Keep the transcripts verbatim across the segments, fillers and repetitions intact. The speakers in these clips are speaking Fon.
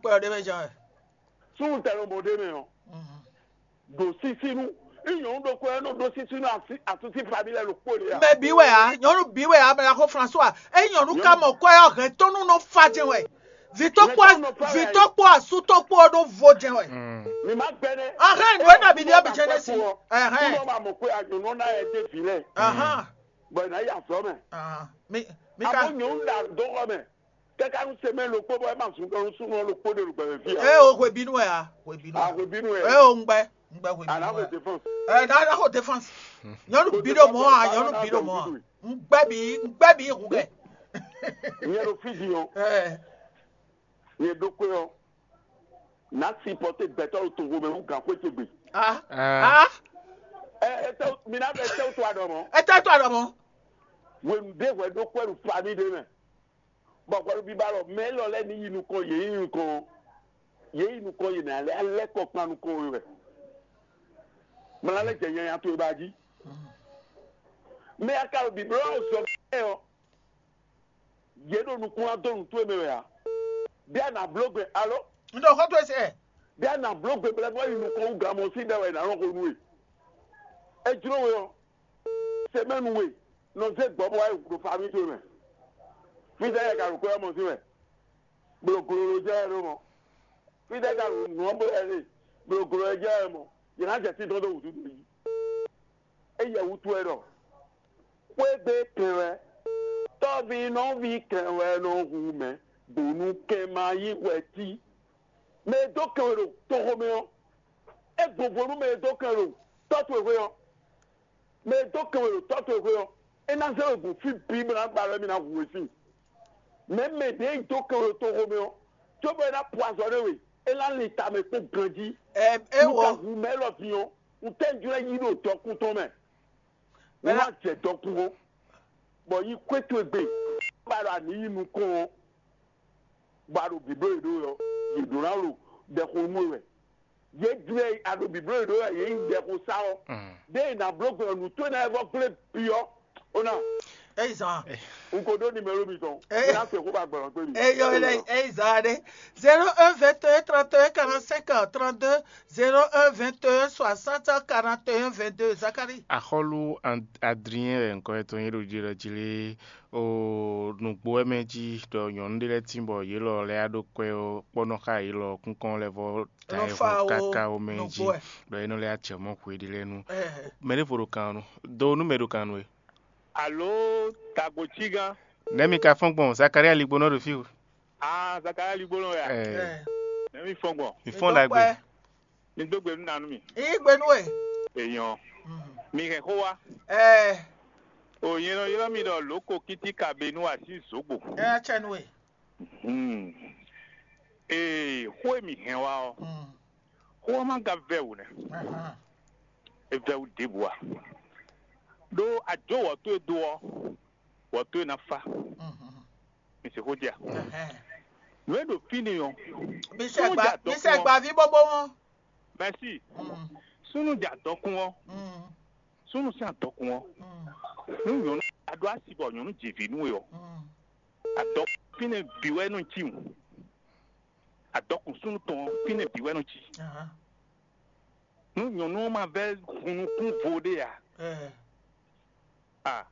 Kpɛ ɔ́ ɖé mɛ jɛ́n wɛ. Súnnu tɛnumɔ ɖé mɛ ɔ́, ɖo sísínú. Nyɔ̌nu ɖokpó wɛ nɔ ɖó sísínú asúsí fami lɛ́ɛ ɖokpó lě ǎ. Mɛ bǐ wɛ ǎ, nyɔ̌nu bǐ wɛ ǎ, mɛ axó François. Ényí nyɔ̌nu ka mɔ kɔ́ ɔ́, hɛn tɔn nú nɔ fa jɛn wɛ. Vǐ tó kpó vǐ tó kpó asú tó kpó ɔ́ ɖó vo jɛn wɛ. Mi má gbɛnɛ. Ahɛn nǔ e nɔ bǐ ɖe ɔ́ bǐ jɛn ɖe sí. Ɛhɛn. Kúnɔ ma mɔ kpé anyɔ̌nu ná yɛ dé vǐ lɛ. Ahán. Bɔ ná yi azɔ̌ mɛ. Ahán. Mi mi Amɔ ka nyɔ̌nu ɖa dó xɔ mɛ. Kɛká nú semɛ ɖokpó bɔ é ma zun ɖɔ nú súnnu ɔ́ ɖokpó ɖe ɖo gbɛmɛ fí ǎ. Eye o hwebínú wɛ a hwebínú. Ahwebínú Eye ɛ. O ŋgbɛ ŋgbɛ Àná hwebínú xwe wɛ. défense. Ɛ na na xo défense. Nyɔnu bí ɖo mɔ a nyɔnu bí ɖo mɔ a. Ŋgbɛ bi ŋgbɛ bi hu kɛ. Nyɛ ɖo Fiji ɔ́, Ɛ nyɛ ɖokpé ɔ́, nǎ sipɔte gbɛtɔ́ ɖo toxo mɛ nú gǎnxwé ce gbe. a a Ɛ ɛ tɛ mi ná bɛ tɛ to aɖɔ mɔ. Ete to aɖɔ mɔ. Hwenu ɖé hwɛ ɖó kwɛ ɖo fami ɖé mɛ. Bɔ hwɛ ɖo biba lɔ mɛ élɔ́ lɛ́ɛ ní yi nukɔn yě yi nukɔn ɔ́. Yě yi nukɔn yě ná lɛ́ alɛ́ kɔ kpan nukɔn we wɛ. Mla lɛ́ jɛ nyanya towe ba jí. Mɛ aka ɖo biblɔ ɔ́ zɔ bɛ́ ɔ́. Yě ɖo nukún ná dó nǔ towe mɛ wɛ ǎ. Bí a nǎ bló gbe alo N ɖo xɔ to ese. bí a nǎ bló gbe blɛ́ bɔ yi nukɔn wú gamɔ sí ɖɛ wɛ nǎ nɔ xo nú we. É jló we ɔ́, semɛnu we nɔ zé gbɔ̌ bɔ wá yi ɖo fami towe mɛ. Fítɛ́ yɛ ka ɖo kwɛ́ ɔ́ mɔ sín wɛ? Blǒgló jɛ wɛ ɖó mɔ. Fítɛ́ ka ɖo nǔ ɔ́ bó wɛ ɖe? Blǒgló jɛ wɛ mɔ. Yě ná jɛ sí tɔn dó wǔtú towe jí. Éyɛ́ wútu wɛ ɖɔ xwé gbe kɛn wɛ, tɔ́ví nɔví kɛn wɛ nɔ hu mɛ, bónú kɛn ma yí hwɛ tí. Mɛ e dó kɛn wɛ ɖo toxo mɛ ɔ́, é gbɔnvo nú mɛ e dó kɛn wɛ ɖo tɔ́ towe xwé ɔ́. Mɛ e dó kɛn wɛ ɖo tɔ́ towe xwé ɔ́, é ná zé we gbɔn fí bǐ bó ná ba wɛ mì ná hu we sín. Mɛ mɛ ɖě e dó kɛn wɛ ɖo toxo mɛ ɔ́, cóbɔ é ná po azɔ̌ nú we, é ná lin tamɛ kpó ganjí. Ɛ Nú ka ewɔ. hu mɛ élɔ́ din ɔ́, un tɛ́ jlɛ́ yí ɖo dɔkun tɔn mɛ. Wọ́n wá jɛ dɔkun ɔ́, bɔ yí kwé towe gbe, bá ɖo anǐ yi nukɔn ɔ́, bɔ a ɖo bǐbló yě ɖó ɔ́, yě ɖó ná ɖo ɖɛxó nú we wɛ. Yě jlɛ́ a ɖo bǐbló yě ɖó wɛ, yě yi ɖɛxó sá ɔ́. Ɖé è nǎ bló gbɔn nǔ towe ná wɛ vɔ gblé byɔ́. Ó ná, Eyi zan. un ko ɖó nimɛlo mitɔn. Eh. Un ná se xó ba gbɔn kpé mi. Eyɔ lɛ eyi zan ɖe. Zéro un vingt et un trente et un quarante-cinq trente-deux, zéro un vingt et un soixante quarante et un vingt-deux. Zacharie. Axɔ́lú Ad- Adrien wɛ ŋkɔ etɔn nyí ɖo jí ɖɔ jí lé o nǔgbó wɛ mɛ jí ɖɔ nyɔ̌nu ɖé lɛ́ɛ tín bɔ yě lɔ lɛ́ɛ á ɖó kwɛ́ ɔ́ kpɔ́nɔ xá yě lɔ kúnkɔ́n lɛ́ɛ vɔ ta Lɔ ɛ fa hɔn wo káká wo mɛ jí nǔgbó wɛ. Ɖɔ é nɔ lɛ́ɛ acɛ mɔ xwe ɖi lɛ́ɛ nu. Ɛ Mɛ ɖěvo ɖo kan nu do nú mɛ ɖo kan nu e. Alo, tagbo cigan. Nɛ̌ mi ka fɔ́n gbɔn? Zakaria ligbónɔ ɖo fí o. Ah, Zakaria ligbolɔ ya. Ɛ, Ne mi fɔn gbɔn. Mi fɔ́n ɖagbe. Mi do gbe nú nanu mi. Igbe nú e. Èèyàn. Mi hɛn xó wa. Ɛ O yẹn nɔ ylɔ́ mi ɖɔ lǒko kítíkabenu así zǒgbo. Ɛ cɛ nú e. Hmm. Ee, xó e mi hɛn wa ɔ́, xó ɔ́ má ga vɛ́ wǔ nɛ́. Ahan. E vɛ́ wú ɖěbǔ a? Ɖó àjǒ wɔ̌ towe dó ɔ́, wɔ̌ towe ná fá. Mhm. Mi se xó jí a? Ɛhɛn. Nǔ e ɖo fínɛ́ ɔ́, Mi sɛ gba mi sɛ gba ví bóbó wọn. Mɛsi, Mm, súnnu jɛ adɔkun ɔ́, mm, súnnu sín adɔkun ɔ́, mm. nú nyɔ̌nu aɖó asi bɔ nyɔ̌nu jɛ vǐ nú we ɔ́, Mm. adɔkun fínɛ́ bǐ wɛ nɔ cí wǔ. Adɔkun súnnu tɔn ɔ́, fínɛ́ bǐ wɛ nɔ cí. Ahan. Nú nyɔ̌nu ɔ́ ma vɛ́ hun nukún vo ɖé ǎ, Ɛ, a,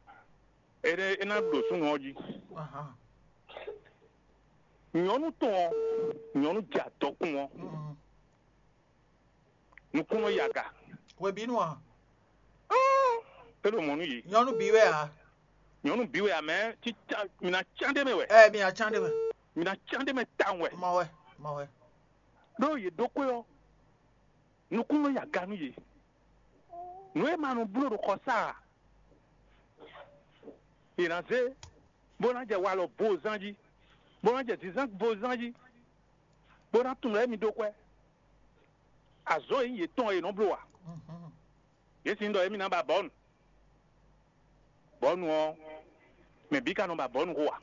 é ɖe é ná ɖo súnnu ɔ́ jí. Ahan. Nyɔ̌nu tɔn ɔ́, nyɔ̌nu jɛ adɔkun ɔ́, Mm. nukún nɔ yi aga. Hwebínú a? É ɖo mɔ̌ nú yě. Nyɔnu bí wɛ a? Nyɔ̌nu bǐ wɛ amɛ títá mi ná cán ɖé mɛ wɛ. Ɛ mi ná cán ɖé mɛ. Mi ná cán ɖé mɛ tawun wɛ. Mɔ wɛ, mɔ wɛ. Ɖó yě ɖó xwé ɔ́, nukún nɔ yi aga nú yě. Nǔ e ma nɔ bló ɖo xɔsá a, è nǎ zé bó ná jɛ walɔ bozán jí, bó ná jɛ zǐnzán bozán jí, bó ná tunwun lɛ́ mi ɖó kwɛ́. Azɔ̌ e nyí yětɔn e è nɔ bló a? Mhm. Yě sin ɖɔ émí ná ba bɔ̌nu. Bɔ̌nu ɔ́, mɛ bǐ ka nɔ ba bɔ̌nu xo a?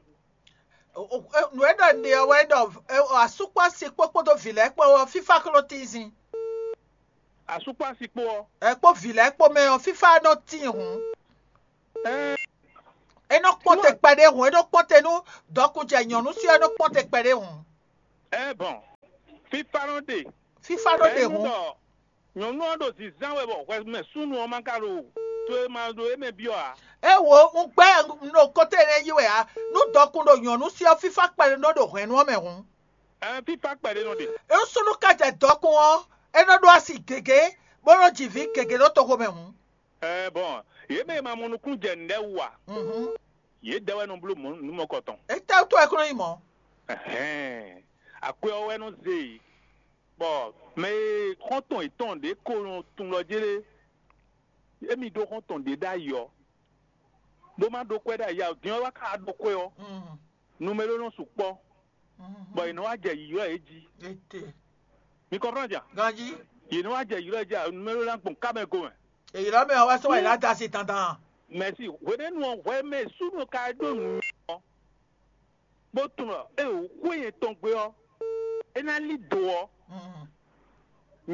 O- o- e- Nǔ e ɖɔ un ɖe ɔ́ wɛ ɖɔ e- asúkpɔ́ asi kpó kpódó vǐ lɛ́ɛ kpó ɔ́, fífá xló tínzin. Asúkpɔ́ asi kpó ɔ́, Ɛ kpó vǐ lɛ́ɛ kpó mɛ ɔ́, fífá nɔ tín hǔn. ɛɛ É nɔ kpɔ́n te kpɛɖé hǔn, é nɔ kpɔ́n te nú dɔkun jɛ nyɔ̌nu sí ɔ́, é nɔ kpɔ́n te kpɛɖé hǔn. ɛɛ bɔn Fífá nɔ ɖe. Fífá nɔ ɖe hun. Nyɔ̌nu ɔ́ ɖo zǐnzán wɛ bɔ hwɛ mɛ súnnu ɔ́ ma ka ɖo to e ma ɖo émɛ byɔ́ ǎ. É wo un gbɛ́ un ɖo kótó énɛ́ yí wɛ ǎ. Nú dɔkun ɖo nyɔ̌nu sí ɔ́, fífá kpɛɖé nɔ ɖo hwɛ̌nu ɔ́ mɛ hǔn. Ɛn fífá kpɛɖé nɔ ɖe. É súnnu ka jɛ dɔkun ɔ́, é nɔ ɖó asi gěgé, bó nɔ ji vǐ gěgé ɖó toxo mɛ hǔn. Ɛɛ bɔn, yě mɛ e ma mɔ nukúnnú jɛ nǔɖé wú ǎ. Mhm. Yě dɛ wɛ nɔ bló mɔ̌ nǔ mɔkɔtɔn. Étɛ́wútu wɛ kún nyí mɔ̌? Ɛhɛn, akwɛ ɔ́ wɛ nɔ zé yě. Bɔ mɛ e xɔ́ntɔn yětɔn ɖě ko nɔ tunwun lɔ jélé, émí ɖó xɔ́ntɔn ɖě ɖ'ayǐ ɔ́, bó má ɖó kwɛ́ ɖ'ayǐ ǎ, din ɔ́ wá ka ɖó kwɛ́ ɔ́, Mm, numero nɔ sukpɔ́, mhm. Bɔ yě nɔ wá jɛ yǐylɔ́ yě jí. Ete. Mi kɔnprɔ́n jà? Ganjí, Yě nɔ wá jɛ yǐylɔ́ yě jí, numero ná gbɔn kámɛ gomɛ. èyí lɔ mɛ ɔ́ wá sɔ́ wá yě lá da asi dandan. Mɛ̌si, hwenɛ́nu ɔ́ hwɛ mɛ súnnu ka ɖó nǔ ɔ́, bó tunwun ɖɔ é wǒ xwé nyɛ tɔn gbé ɔ́, é ná lí do ɔ́, Mm,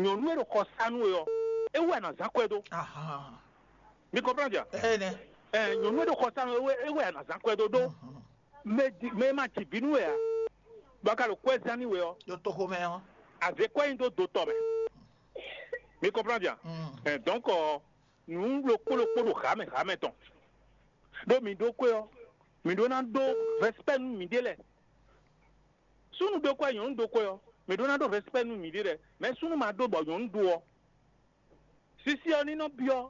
nyɔ̌nu e ɖo xɔ sa nú we ɔ́, é wɛ a nǎ zán kwɛ́ dó. ahan. Mi kɔnprɔ́n jà? Ene. Ɛ nyɔ̌nu e ɖo xɔ sa nú we, é wɛ a nǎ zán kwɛ́ dó ɖó. Mhm. Mɛ di- mɛ e ma ji vǐ nú we ǎ, bɔ a ka ɖo kwɛ́ zán nú we ɔ́, Ɖo toxo mɛ ɔ́. a zě kwɛ́ nyi dó do tɔn mɛ. Mi kɔnprɔ́n jà? Mm. Ɛ donc ɔ, nǔ ɖokpó ɖokpó ɖo hǎmɛ hǎmɛ tɔn. Ɖó mi ɖó kwɛ́ ɔ́, mi ɖó ná ɖó vɛspɛ́ nú miɖée lɛ́ɛ. Súnnu ɖó kwɛ́, nyɔ̌nu ɖó kwɛ́ ɔ́, mi ɖó ná ɖó vɛspɛ́ nú miɖée lɛ́ɛ. Mɛ súnnu ma ɖó bɔ nyɔ̌nu ɖó ɔ́, sisi ɔ́ ní nɔ byɔ́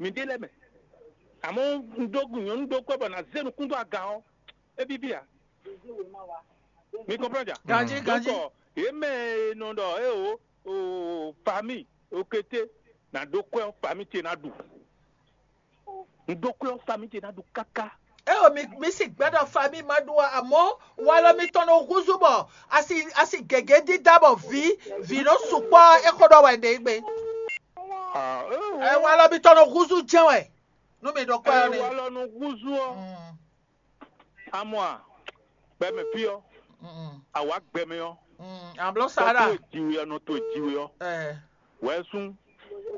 miɖée lɛ́ɛ mɛ. Àmọ́ un ɖó nyɔ̌nu ɖó kwɛ́ bɔ nǎ zé nukún dó aga ɔ́, é bíbí ǎ. Mi kɔnprɔ́n jà? Ganjí, ganjí. Donc yě mɛ e nɔ ɖɔ é o o famille o kété nǎ ɖó kwɛ́ ɔ́, famille ce ná ɖu. Un ɖó kwɛ́ ɔ́, famille ce ná ɖu káká. Eo mi mi si gbɛdɔ fa mi ma ɖu amɔ walɔ mi tɔn nɔ huzu bɔ asi asi gɛgɛ dida bɔ vi vi nɔ sukpɔ exɔ ɖɔ wɛ ɖe gbe. Ah, Ɛ walɔ mi tɔn nɔ huzu jɛ wɛ nu mi ɖɔ kɔ ɛ ni. Walɔ nɔ huzu ɔ. Mm, Amɔ a, gbɛmɛ fi ɔ, mm, awa gbɛmɛ ɔ, mm, ablɔ tɔ sara. to jiwe ɔ, nɔ to jiwe ɔ, Ɛ wɛ sún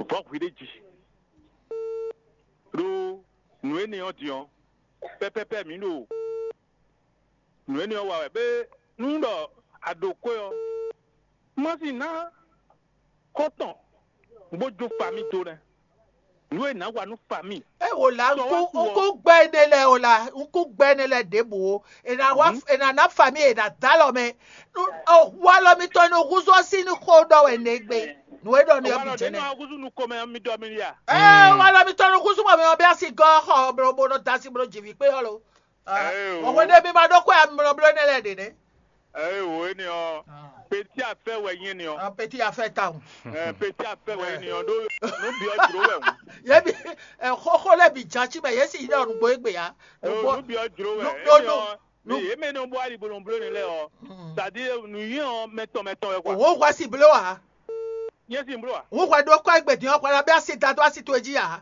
vɔ hwi ɖe ji. Ɖo nǔ énɛ́ ɔ́ din ɔ́, pɛpɛpɛ mǐ ɖo nǔ énɛ́ ɔ́ wa wɛ bé nú ɖɔ a ɖo kwɛ́ ɔ́, má si ná xɔ́tɔn bó jó famille dó nɛ́. Nǔ e nǎ wa nú famille. E wò la Sɔ wá ŋku kú ọ. ŋku gbɛ ne lɛ o la ŋku gbɛ ne lɛ ɖěbǔ o. Ena wa Mhm. ena na fami ena da lɔ mɛ. Nu o wa lɔ mi tɔ nu huzu ɔsi nu xo ɖɔ wɛ ne gbe. Nu e ɖɔ ne yɔ Walɔ bi ɖe jɛ nɔ nɛ. Aguzu nu komɛ mi dɔ mi ya. Ɛɛ wa lɔ mi tɔ nu huzu mɔ mi ɔ bi asi gɔ xɔ blo bo nɔ da si blo jivi kpe yɔ lo. Ɛɛ o. Ɔwɔ ne mi ma ɖo kɔ ya mi lɔ blo ne lɛ ɖe ne. Ɛɛ o, énɛ́ ɔ́, petit affaire wɛ nyí énɛ́ ɔ́. Petit affaire ta o. Ɛɛ, petit affaire wɛ énɛ́ ɔ́ ɖó nǔ byɔ́ jlǒ wɛ ŋu. Ye bi ɛ xɔxɔ lɛ bi jan ci mɛ ye si yi ɖe ɔnugbo egbe ya. Ɖó Nugbo nǔ byɔ́ jlǒ wɛ No, énɛ́ no, ɔ́. no. Yě mɛ nɔ bɔ ali bolo blo ne lɛ ɔ. Mm. C'est-à-dire nǔ nyí ɔ́ mɛtɔn mɛtɔn wɛ kɔ. Òwò wá sí blo wa. Yé sì ń blo wa. Òwò wá ɖó kọ́ egbe dín ɔkwa la bí asi da dó asi tó jí ya.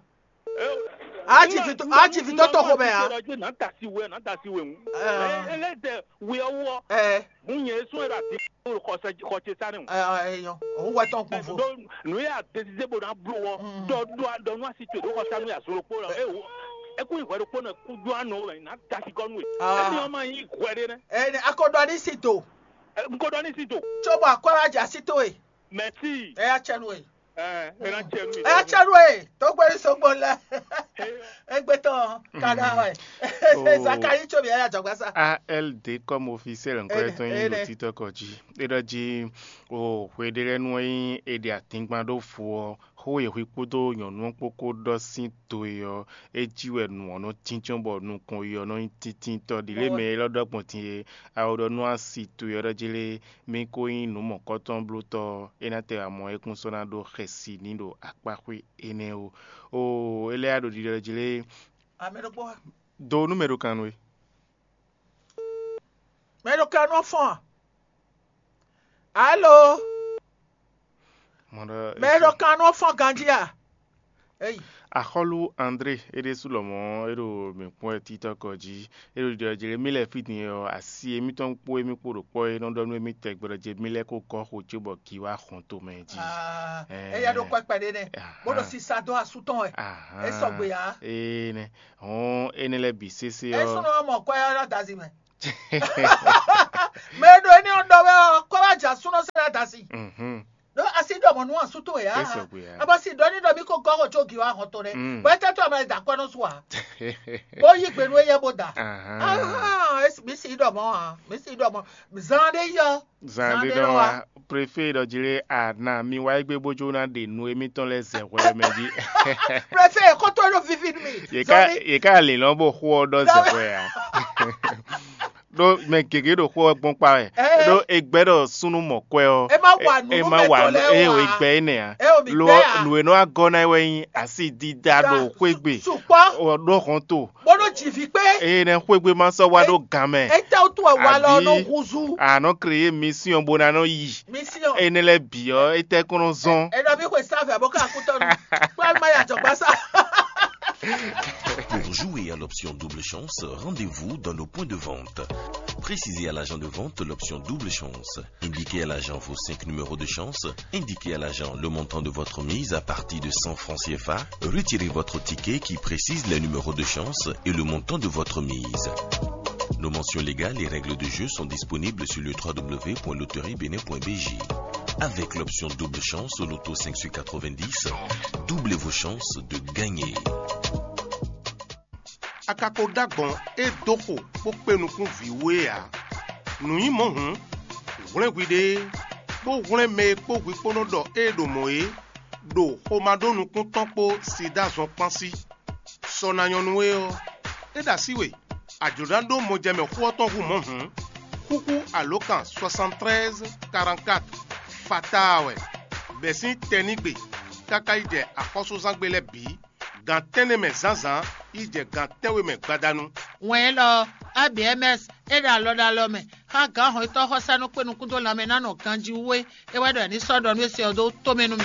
A ti fi tó a ti fi tó tó xo mɛ ya. Nà ta si wɛ nà ta si wɛ ŋu. Ɛɛ. Ele tɛ wɛ ɔwɔ. Ɛ Mun yɛ sún ɛrɛ àti xɔsɛ xɔsɛ sáré ŋu. Ɛ ɛ yɔ. Òwò wá tɔn kpɔn fo. Nù yà désidé bó na blo wɔ. Mm. Dɔ dɔ dɔ nù asi tó dó xɔsá nù yà sún lókpó lɔ. Ɛ wo. Ɛkú ìwé lókpó nà kú dó àná wɛ nà ta si kɔ nù yìí. Ah. Ɛni ɔmọ yìí hwɛ ɖé nɛ. Ɛ akodɔ ni si do. Nkoɖɔ ní sí dò. Tso bɔ akɔ wa dza sí tó e. Mɛtí. Ɛ ya tsɛ nu e. Ɛ ɛ na tsɛ nù. Ɛ ya tsɛ nu e. Tó gbé sogbo lɛ. Egbe tɔn kada wɛ. Oh. Zakari tso mi ɛ ya jɔgba sa. A L D comme officiel encore Eh, étant eh, une eh. Twitter kɔ dzi. E ɖɔ dzi o hwe ɖe lɛ nu ɔ́ nyi e ɖe atingban ɖó fo ɔ́, xó e hwi kpódó nyɔ̌nu ɔ́ kpó kó ɖɔ sín to e ɔ́, é jí wɛ nǔ ɔ́ nɔ tíntín bɔ nukɔn yi ɔ́ nɔ nyí tíntínntɔ́ ɖi lě mɛ élɔ́ ɖɔ gbɔn din e awo ɖɔ nú asi to e ɔ́ ɖɔ jí lé, mí kó nyí nǔ mɔ̌kɔtɔn blótɔ́ ɔ́, é ná tɛ wá mɔ é kún sɔ́ ná ɖó xɛsi ní ɖo akpáxwé énɛ́ ó. Oo, é lɛ́ ɖo ɖiɖɔ jí lé, Amɛ ɖokpó wa. do nú mɛ ɖo kan nú we. Mɛ ɖo kan nɔ fɔn. Alo. Mɔ ɖɔ Mɛ ɖo kan nɔ fɔn ganji a. Eyi. Axɔlu André é ɖésú lɔmɔ̌ é ɖo mǐ kpɔ́n wɛ títɔ́ kɔ jí. É ɖo ɖiɖɔ jí lé mí lɛ́ fí din ɔ́, asi émítɔn kpó émí kpó ɖo kpɔ́ é nɔ ɖɔ nú émí tɛgbɛ ɖɔ jí mí lɛ́ kó gɔ́ xo cí bɔ gǐ wá xɔn tomɛ jí. Ah, Eh. Eya ɖo kɔ kpɛɖe nɛ. Aha. Bó ɖo sisa dó asu tɔn wɛ. Ahan. É sɔgbe ya. Ee nɛ. Hɔn énɛ́ lɛ́ɛ bǐ sésé É ɔ́. Súnɔ ɔ́ mɔ kɔ ya ɖo adazi mɛ. Mɛ e ɖo éní ɔ́ ɖɔ wɛ ɔ́, kɔ wá dza súnɔ sɛ ɖo asi. Mhm. Ɖó asi ɖɔ mɔ nú asú towe ǎ. Ésɔgbe ǎ. Abɔ si ɖɔ ní ɖɔ mí ko gɔ́ xɔ tso gi wá hɔn to nɛ. Mm. Bɔ étɛ́ tó amlɛ da kɔ́ nɔ su ǎ. Bó yí gbe nú éyɛ́ bó da. Ahán. Ah, es- mí si ɖɔ mɔ ǎ. Mí si ɖɔ mɔ. Zan ɖé yɔ. Zan Zan ɖé ɖé nɔ nɔ wá. Wá. Préfé ɖɔ jí lé, a na mi wá égbé bó jó ná ɖe nu émítɔn lɛ́ɛ zɛ hwɛ mɛ jí. Préfé, kótó ɖo vivi nú mi. Yě ká Zɔn mi. Yě ká lǐlɔ́n bó xó ɔ́ ɖɔ zɛ hwɛ ǎ. Ɖó mɛ gěgé ɖo xó ɔ́ gbɔn kpá wɛ. Ɛ. Ɖó è gbɛ́ ɖɔ súnnu mɔ̌kwɛ́ ɔ́, È má wa nǔ é nú má mɛ wa tɔn lɛ́ɛ ɛ ò wá. È gbɛ́ énɛ́ ǎ. Ɛ ò mì Lo gbɛ́ ǎ. Nǔ e nɔ wá gɔ́ ná é wɛ nyí asi dídá ɖo xwé gbe. Sukpɔ́. Ɔ, ɖó hɔn to. Bó nɔ ji vǐ kpé. Eye nɛ xwé gbe má sɔ́ wá ɖó gan mɛ. Étɛ́ wútu wɛ wa lɔ nɔ Àbí húzú. A nɔ kreyé mission bó ná nɔ yi. Mission. Énɛ́ lɛ́ɛ bǐ ɔ́, étɛ́ kɔn nɔ zɔn. È nɔ bí xwe sáfɛ bó ká kú tɔnu. Kpɔ́ má yà jɔ̀gbá sá. Pour jouer à l'option double chance, rendez-vous dans nos points de vente. Précisez à l'agent de vente l'option double chance. Indiquez à l'agent vos cinq numéros de chance. Indiquez à l'agent le montant de votre mise à partir de cent francs C F A. Retirez votre ticket qui précise les numéros de chance et le montant de votre mise. Nos mentions légales et règles de jeu sont disponibles sur le trois W point loterie bénin point B J. Avec l'option double chance au loto cinq sur quatre-vingt-dix, doublez vos chances de gagner. A ka ko ɖó agbɔ̌n e dó xo bó kpé nukún vǐ wú é ǎ. Nǔ nyí mɔ̌ hǔn, hwlɛ́n hwiɖée, bó hwlɛ́n mɛ e kpó hwi kpó nɔ ɖɔ ée ɖo mɔ̌ é, ɖo xomá ɖó nukún tɔn kpó sida zɔn kpán sí. Sɔ ná nyɔ́ nú we ɔ́, é ɖo así we, a jlǒ ná ɖó mɔjɛmɛ xó ɔ́ tɔn hú mɔ̌ hǔn, xúxú alǒkan soixante-treize quarante-quatre fataa wɛ, bɛ̌ sín tɛnígbe káká yi jɛ axɔ́súzángbe lɛ́ɛ bǐ, gan tɛ́nnɛ mɛ zǎnzǎn yi jɛ gan tɛ́nwe mɛ gbadanu. Wɛn élɔ́ ɔ́, A B M S é ɖo alɔ ɖo alɔ mɛ xá gǎn hɔnnyitɔ́ xɔsánú kpé nukún dó lanmɛ ná nɔ ganjí wú é, é wɛ ɖɔ è ní sɔ́ ɖɔ nú é se ɔ́ dó tomɛ nú mì.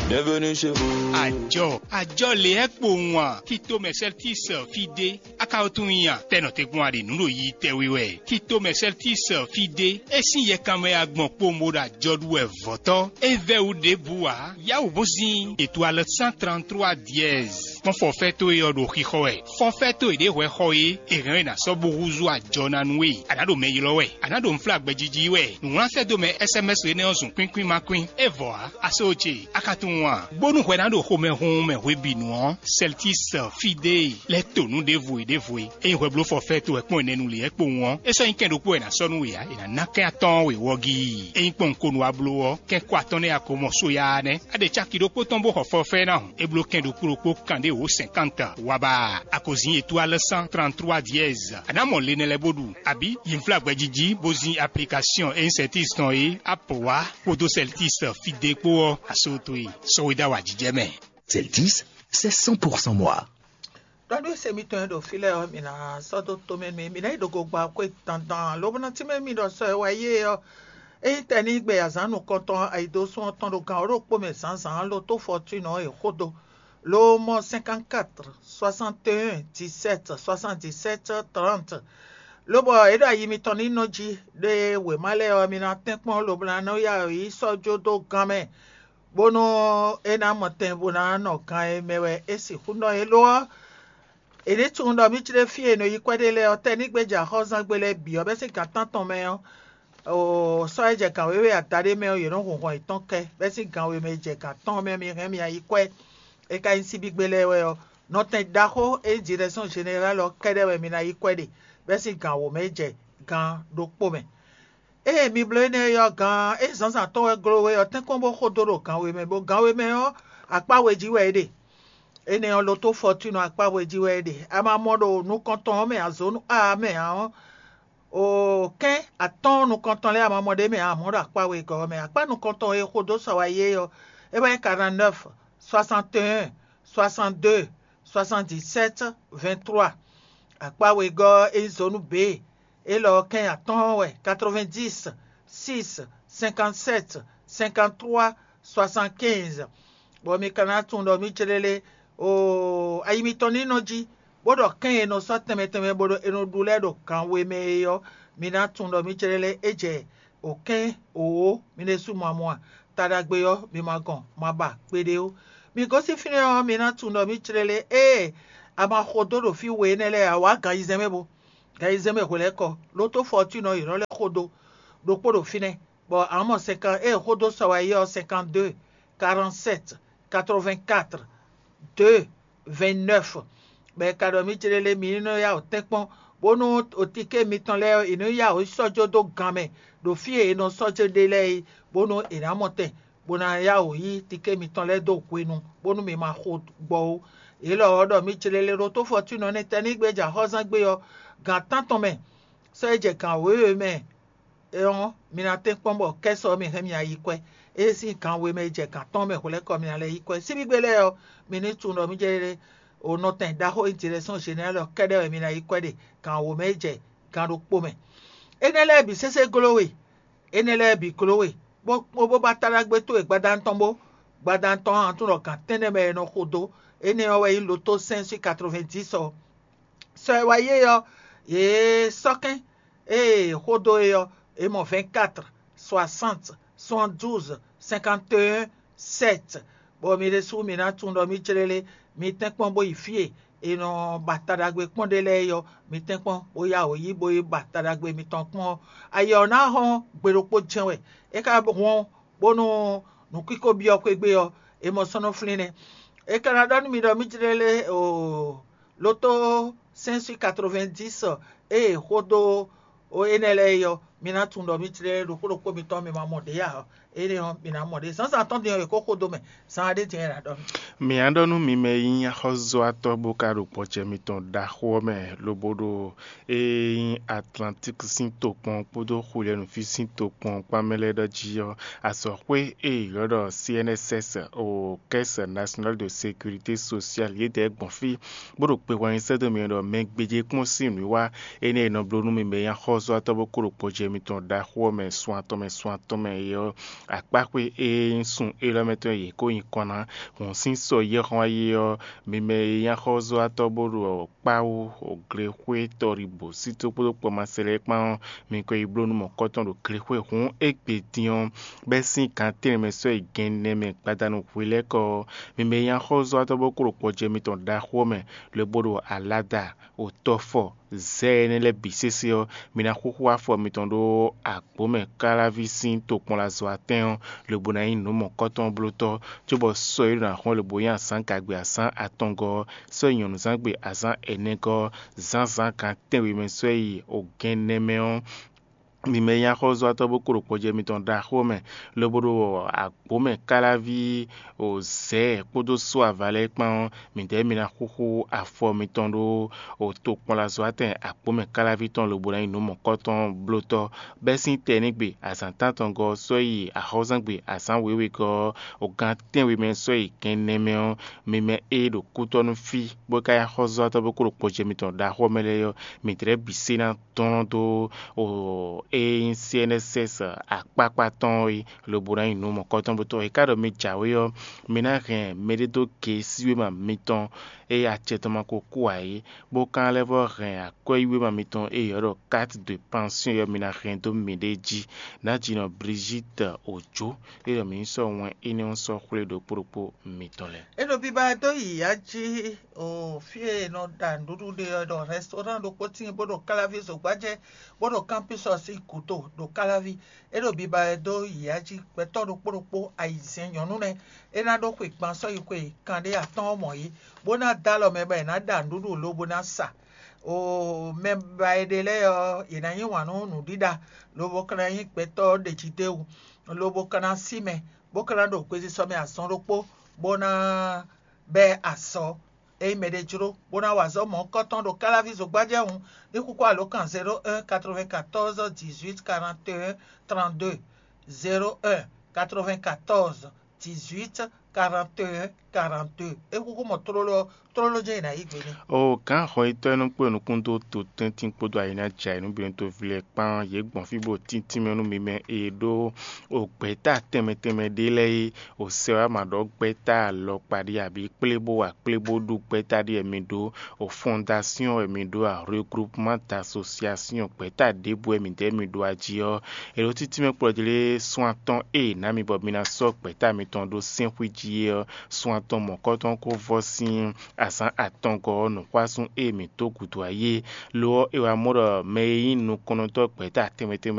Bienvenue chez vous. Àjọ àjọ lě ɛ kpo wan kí tó mɛ sɛltis fí dé. A ka wo tunwun nya tɛnɔ te gbɔn a ɖe nǔ ɖo yi tɛwi wɛ. Kí tó mɛ sɛltis fí dé. É sín yɛkanmɛ ya gbɔn kpowun bó ɖo àjɔ ɖu wɛ vɔ̌tɔ́. É vɛ́ wú ɖěbǔ ǎ. Yáwǔ bó zín ètò alɔ cent trente-trois dièse. Kpɔ́n fɔfɛ́ towe ɔ́ ɖo xixɔ wɛ. Fɔfɛ́ towe ɖě hwɛ xɔ é, è hɛn ɔ́ è nǎ sɔ́ bó húzú ajɔ ná nú we. A nǎ ɖo mɛ ylɔ́ wɛ, a nǎ ɖo nǔflágbɛ́ jiji wɛ. Nǔwlánfɛ́ dó mɛ S M S énɛ́ ɔ́ zun kwín kwín ma kwín. É vɔ ǎ, a só ce, a ka tunwun a? Bónú hwɛ ná ɖo xomɛ hunhun mɛ hwebǐnu ɔ́, Celtis fídée lɛ́ to nǔ ɖěvo e ɖěvo e. Ényí hwɛ bló fɔfɛ́ towe kpɔ́n ɛnɛ nu lě ɛ kpowun ɔ́, é sɔ́ nyí kɛ́n ɖokpó wɛ è nǎ sɔ́ nú we ǎ, è nǎ ná kɛ́n atɔ́ɔ́n we wɔ gíi. Ényí kpɔ́n un ko nu wá bló ɔ́, kɛ́n kó atɔ́ɔ́n nɛ́ a ko mɔ só yá nɛ́. A ɖe caki ɖokpó tɔn bó xɔ fɔfɛ́ ná hǔn, é bló kɛ́n ɖokpó ɖokpó kanɖé wǒ cinquante wá ba. A ko zin étoile cent trente-trois dièse. A nǎ mɔ le nɛ lɛ́ɛ bó ɖu, abǐ yi nflá gbɛjiji bó zin application e nyí Celtis tɔn é, Apple wá kpódó Celtis fídé kpó ɔ́, a só towe sɔ́ we dó awǎjijɛ mɛ. Celtis, c'est cent pour cent moi. Ɖɔ nú se mitɔn e ɖo fí lɛ́ɛ ɔ́, mi ná sɔ́ dó tomɛ nú mì, mi ná yi ɖo gogba xwé dandan, lobo ná tínmɛ mì ɖɔ sɔ e wá yí é ɔ́, é nyí tɛnígbe azǎn nukɔntɔn ayǐdósún ɔ́ tɔn ɖo gan wǒ ɖokpó mɛ zǎnzǎn lo tó fɔtúnɔ ɔ́ e xó dó, lo mɔ cinquante-quatre soixante et un dix-sept soixante-dix-sept trente, lobɔ é ɖo ayi mitɔn ní nɔ jí ɖe wěma lɛ́ɛ ɔ́, mi ná tɛ́nkpɔ́n lobo ná nɔ ya yi sɔ́ jó dó gan mɛ, bónú é ná mɔ tɛn bó ná nɔ gan e mɛ wɛ é sixú nɔ é lo ɔ́, è nǐ tunwun ɖɔ mì jlé fí e è nɔ yi kwɛ́ ɖe lɛ́ɛ ɔ́, tɛ́ ní gbéjɛ axɔ́zangbe lɛ́ɛ bǐ ɔ́ bɛ́ sín gan tántɔn mɛ ɔ́, oo, sɔ́ e jɛ gan wěwe adaɖé mɛ ɔ́, yě nɔ hun hɔn yětɔn kɛ, bɛ́ sín gan we mɛ e jɛ gan tɔn mɛ mi hɛn mi ná yi kwɛ́. É ka nyí síbígbe lɛ́ɛ wɛ ɔ́, nɔtɛn ɖaxó e nyí Direction Générale ɔ́ kɛ́ɖɛ́ wɛ mi ná yi kwɛ́ ɖe, bɛ́ sín gan wǒ mɛ e jɛ gan ɖokpó mɛ. Ée mi bló énɛ́ ɔ́, gan e zǎnzǎn tɔn wɛ gló we ɔ́, tɛ́nkpɔ́n bó xo dó ɖo gan we mɛ, bó gan we mɛ ɔ́, akpá we jí wɛ é ɖe. Énɛ́ ɔ́, loto fɔtúnɔ akpá we jí wɛ é ɖe. A ma mɔ ɖo nukɔntɔn ɔ́ mɛ ǎ, zǒnu a mɛ ǎ ɔ́, o kɛ́n atɔ́ɔ́n nukɔntɔn lɛ́ɛ a ma mɔ ɖ'é mɛ ǎ, amɔ̌ ɖo akpá wegɔ́ ɔ́ mɛ. Akpá nukɔntɔn e xo dó sɔ wá yi é ɔ́, é wɛ nyí quarante-neuf soixante et un soixante-deux soixante-dix-sept vingt-trois. Akpá wegɔ́ ɔ́, é nyí zǒnu B. Élɔ́ ɔ́, kɛ́n atɔ́ɔ́n wɛ: quatre-vingt-dix six cinquante-sept cinquante-trois soixante-quinze. Bɔ mi ka ná tunwun ɖɔ mì jlélé oo, ayi mitɔn ní nɔ jí, bó ɖɔ kɛ́n e nɔ sɔ́ tɛnmɛ tɛnmɛ bó ɖo è nɔ ɖu lɛ́ɛ ɖo gan we mɛ é ɔ́, mi ná tunwun ɖɔ mì jlélé é jɛ o kɛ́n wǒ mi ɖésú ma mɔ a? Ta ɖagbe ɔ́, mi ma gɔn, ma ba kpeɖé ó. Mi gosín fínɛ́ ɔ́, mi ná tunwun ɖɔ mì jlélé ée a ma xo dó ɖo fí we énɛ́ lɛ́ɛ ǎ, wǎ gan ayizɛ́n mɛ bo. Gan ayizɛ́n mɛ hwelɛ́kɔ, Loto Fortune ɔ́, yě nɔ lɛ́ xo dó ɖokpó ɖo fínɛ́, bɔ a nǎ mɔ cinquante ée xo dó sɔ wá yi ɔ́, cinquante-deux, quarante-sept, quatre-vingt-quatre, deux, vingt-neuf. Bɔ è ka ɖɔ mǐ céɖélé mǐ ní nɔ yá wǔ tɛ́nkpɔ́n, bónú otíké mitɔn lɛ́ɛ ɔ́, è nǐ yá wǔ sɔ́ jó dó gan mɛ ɖo fí e è nɔ sɔ́ jó ɖe lɛ́ɛ é, bónú è nǎ mɔ tɛn, bó ná yá wǔ yí tiké mitɔn lɛ́ɛ dó hwenu, bónú mi ma xo gbɔ ó. Yě lɔ ɔ́ ɖɔ mǐ céɖélé ɖo tó Fortune ɔ́ nɛ́ tɛnígbe jɛ axɔ́zán gbe ɔ́, gan tántɔn mɛ, sɔ́ é jɛ gan wěwe mɛ ɔ́, mi ná tɛ́nkpɔ́n bɔ kɛ́sɔ ɔ́ mi hɛn mi ná yi kwɛ́. Ée sín gan we mɛ e jɛ gan tɔn mɛ hwlɛ́kɔ mi ná lɛ́ yi kwɛ́. Síbígbe lɛ́ɛ ɔ́, mi ní tunwun ɖɔ mǐ jɛ o nɔtɛn ɖaxó Direction Générale ɔ́ kɛ́ɖɛ́ wɛ mi ná yi kwɛ́ ɖe gan wǒ mɛ e jɛ gan ɖokpó mɛ. Énɛ́ lɛ́ɛ bǐ sésé gló we, énɛ́ lɛ́ɛ bǐ gló we, bó kpó bó ba taɖagbe towe gbadanu tɔn bó. Gbadanu tɔn ɔ́, a tunwun ɖɔ gan tɛ́nnɛ mɛ è nɔ xo dó. Énɛ́ ɔ́ wɛ nyí Loto cinq sur quatre-vingt-dix ɔ́. Sɔ e wá yí é ɔ́, yě sɔ́ kɛ́n, ée xó dó é ɔ́, é mɔ vingt-quatre, soixante, soixante-douze, cinquante et un, sept. Bɔ mi ɖésú mi ná tunwun ɖɔ mǐ céɖélé, mi tɛ́nkpɔ́n bó yi fí e è nɔ ba taɖagbe kpɔ́n ɖe lɛ́ɛ é ɔ́, mi tɛ́nkpɔ́n bó yá wǒ yí bó yi ba taɖagbe mitɔn kpɔ́n ɔ́, ayǐ ɔ́ ná hɔn gbe ɖokpó jɛ́n wɛ. É ka hɔn bónú nǔkíko byɔ́ xwé gbe ɔ́, è mɔ sɔ́ nɔ flín nɛ́. É ka ná ɖɔ nú mi ɖɔ mǐ jlɛ́ lé o loto cinq sur quatre-vingt-dix ée xódó énɛ́ lɛ́ɛ é ɔ́, mi ná tunwun ɖɔ mǐ jlɛ́ lé ɖokpó ɖokpó mitɔn mi ma mɔ ɖě ǎ. Énɛ́ ɔ́, mi ná mɔ ɖě. Zǎnzǎn tɔn din ɔ́, è ko xódó mɛ. Zǎn ɖé din wɛ è nǎ ɖɔ nú. Mǐ á ɖɔ nú mi mɛ e nyí axɔ́zɔ́watɔ́ bó ka ɖo gbɔjɛ mitɔn ɖaxó ɔ́ mɛ, lobo ɖo e nyí Atlantík sín tokpɔn kpódó Xwilɛnúví sín tokpɔn kpán mɛ lɛ́ɛ ɖɔ jí ɔ́, azɔ̌xwé e è ylɔ́ ɖɔ C N S S o Caisse Nationale de Sécurité Sociale yědɛɛ gbɔn fí, bó ɖo kpe hwɛnyi sɛ́ dó mi ɖɔ mɛ gbéjé kpɔ́n sín nǔwiwa énɛ́ e nɔ bló nú mi mɛ e nyí axɔ́zɔ́watɔ́ bó kó ɖo gbɔjɛ mitɔn ɖaxó ɔ́ mɛ sun atɔn mɛ sun atɔn mɛ é ɔ́, akpáxwé e nyí sun élɔ́ mɛ tɔn e yě kó nyi kɔn ná hǔn sín sɔ yɛ́hɔn wá yi ɔ́, mi mɛ e nyí axɔ́zɔ́watɔ́ bó ɖo kpáwú o glexwé tɔɖibǒ sító kpódó kpɔmasɛ lɛ́ɛ kpán ɔ́, mi ko yi bló nú mɔ̌kɔtɔn ɖo glexwé hǔn égbé din ɔ́, bɛ́ sín gan tɛ́nnɛ mɛ sɔ́ yi gɛnnɛ mɛ gbadanu hwelɛ́kɔ ɔ́, mi mɛ e nyí axɔ́zɔ́watɔ́ bó kó ɖo gbɔjɛ mitɔn ɖaxó ɔ́ mɛ, lobo ɖo alada o tɔfɔ zɛ énɛ́ lɛ́ɛ bǐ sésé ɔ́, mi ná xúxú afɔ mitɔn ɖó agbǒ mɛ káláví sín tokpɔnlazɔ́watɛ́n ɔ́, lobo ná nyí nǔ mɔ̌kɔtɔn blótɔ́, cóbɔ sɔ e ɖo ná xɔ́n lobo nyí azǎn gagbe azǎn atɔngɔ́ ɔ́, sɔ́ yi nyɔ̌nuzángbe azǎn ɛnɛgɔ́ ɔ́, zǎnzǎn gan tɛ́nwe mɛ sɔ́ yi ogɛ́nnɛ mɛ ɔ́, mi mɛ e nyí axɔ́zɔ́watɔ́ bó kó ɖo gbɔjɛ mitɔn ɖaxó mɛ, lobo ɖo agbǒ mɛ káláví o zɛ̌ kpódó só ava lɛ́ɛ kpán ɔ́, midɛɛ mi ná xúxú afɔ mitɔn ɖó o tokpɔnlazɔ́watɛn agbǒ mɛ káláví tɔn lobo ná nyí nǔ mɔ̌kɔtɔn blótɔ́, bɛ́ sín tɛnígbe azǎn tántɔngɔ́ ɔ́ sɔ́ yi axɔ́zangbe azǎn wěwegɔ́ ɔ́, o gan tɛ́nwe mɛ sɔ́ yi gɛnnɛ mɛ ɔ́, mi mɛ e ɖo kútɔ́ nú fí bó ka nyí axɔ́zɔ́watɔ́ bó kó ɖo gbɔjɛ mitɔn ɖaxó mɛ lɛ́ɛ ɔ́, midɛɛ bǐ sé ná dɔn dó o e nyí C N S S akpákpá tɔn é, lobo ná nyí nǔ mɔ̌kɔtɔn bó tɔn. È ka ɖɔ mi jǎwe ɔ́, mi ná hɛn mɛɖé dó ge síwéma mitɔn e acɛ tɔn ma ko kú ǎ é, bó ka lɛ́ vɔ́ hɛn akwɛ́yíwéma mitɔn e è ylɔ́ ɖɔ carte de pension é ɔ́, mi ná hɛn dó miɖée jí. Nǎjínɔ Brigitte Ojo, é ɖɔ mǐ ní sɔ́ wɛn énɛ́ ɔ́ sɔ́ xwlé ɖokpó ɖokpó mitɔn lɛ́ɛ. É ɖo biba ɛ dó yi yǎ jí o fí e è nɔ ɖa nǔɖuɖu ɖe ɔ́ ɖɔ rɛstɔ́rán ɖokpó tíin bó ɖo káláví zǒgbájɛ bó ɖo kámpísɔ sín gǔdo ɖo káláví. É ɖo biba ɛ dó yi yǎ jí gbɛtɔ́ ɖokpó ɖokpó ayizɛ́n nyɔ̌nu nɛ́. É ná ɖó xwe gban sɔ́ yi xwe kanɖé atɔ́ɔ́n mɔ̌ é, bó ná dó alɔ mɛ bɔ è nǎ ɖa nǔɖuɖu lobo ná sa. O mɛ ba e ɖe lɛ́ɛ ɔ́, yě ná yí wǎn nú nǔɖiɖa, lobo ka ná nyí gbɛtɔ́ ɖeji d'é wú, lobo ka ná sí mɛ, bó ka ná ɖo gbesisɔ mɛ azɔn ɖokpó, bó ná bɛ́ azɔ̌. Ényí mɛɖé jló bó ná wa azɔ̌ mɔ̌hunkɔtɔn ɖo káláví zǒgbájɛ́ hǔn, ní xúxú alǒkan zéro un quatre-vingt-quatorze dix-huit quarante et un trente-deux, zéro un quatre-vingt-quatorze dix-huit quarante et un quarante-deux. É xúxú mɔ tlóló ɔ́, tlóló jɛ́n è nǎ yí gbe n'i. O gǎn xɔyítɔ́ e nɔ kpé nukún dó to tɛ́ntin kpódó ayǐnájɛ ayǐnúbǐnútoví lɛ́ɛ kpán, yě gbɔn fí bó tíntín mɛ nú mi mɛ e ɖó o gbɛ̌ta tɛnmɛ tɛnmɛ ɖé lɛ́ɛ é, o sɛ wá ma ɖɔ gbɛ́ta alɔkpa ɖé abǐ kplé bó wa kplé bó ɖu gbɛ́ta ɖé wɛ mi ɖó, o fɔndasyɔn wɛ mi ɖó a, regroupement d'association gbɛ́ta ɖěbǔ wɛ midɛɛ mi ɖó a jí ɔ́, è ɖo títí mɛ kplɔ́ jlé sún atɔn e è nǎ mi bɔ mi ná sɔ́ gbɛ̌ta mitɔn ɖó sɛ́nxwí jí é ɔ́, sún tɔn mɔ̌kɔtɔn kó vɔ sín azǎn atɔngɔ́ ɔ́ nǔxwásún e mǐ dó gǔdo ayé. Lo ɔ́, è wǎ mɔ ɖɔ mɛ e nyí nukɔntɔ́ gbɛ̌ta tɛnmɛ tɛnmɛ